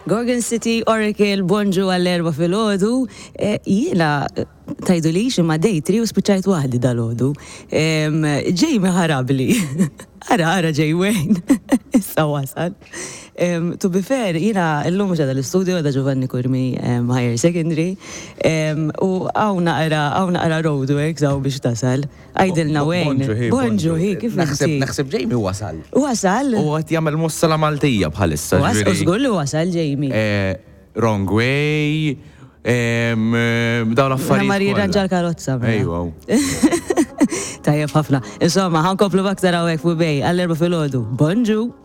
Gorgon City, Oracle, bonġu għall-erba filgħodu. Eh, jiena tgħidulix imma day 3 u spiċċajt waħdi dalgħodu. Jamie ħarabli. Ara, ara ġej Wayne. Issa wasal. To be fair, jiena llum mhux qiegħda l-istudio, qiegħda Giovanni Curmi Higher Secondary. U hawn naqra, hawn naqra roadworks hawn biex tasal. Għidilna Wayne. Bonġu hi. Bonġu hi, kif inti? Naħseb Jamie wasal. Wasal? U qed jagħmel mossa la Maltija bħalissa. Wasal, żgur li wasal Jamie. Eh, wrong way, dawn l-affarijiet. Mar jirranġa l-karozza. Mela. Ejwa. Tajjeb ħafna. Insomma, ħankomplu b'aktar hawnhekk fuq bej għall-erba' filgħodu. Bonġu!